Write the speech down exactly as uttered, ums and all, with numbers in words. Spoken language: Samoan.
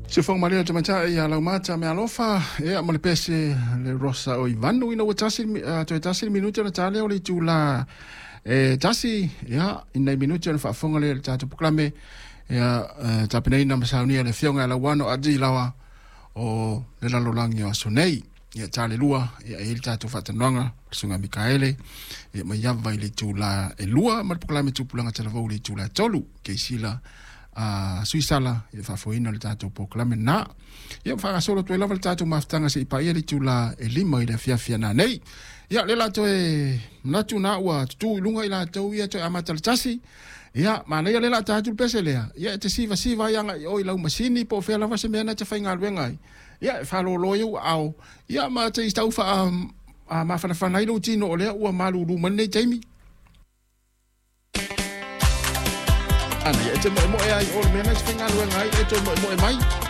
Sifoga malia le tamaitai ia Laumata Mealofa ia ma le pese le Rosa o Ivanu ina ua tasi toe tasi le minute ona ta lea o le itulā e tasi ia i nai minute ona faafofoga lea i le tatou polokalame ia tapenaina ma saunia le afioga ia Lauano Adi Laoa o le lalolagi o aso nei. Ia ta le lua ia e i le tatou faatanoaga le Susuga Mikaele ia mai ava i le itulā e lua ma le polokalame Tupulaga Talavou i le itulā e tolu keisila a Suisala ia faafoeina le tatou polokalame na. Ia faagasolo atu ai lava le tatou mafutaga seia paia le itulā e lima i le afiafi ana nei. Ia le la toe manatu na ua tutū i luga i latou ia toe amata le tasi. Ia manaia le la ta atu le pese lea. Ia e te sivasiva ai agai i o i lau masini po o fea lava se mea na te faigaluega ai. Ia e faalōlō ai ou aao. Ia ma te tau faa mafanafana ai lou tino o lea ua malūlū mai lenei taimi. Ana ia e te moemoe ai o le mea na te faigaluega ai e toe moemoe mai.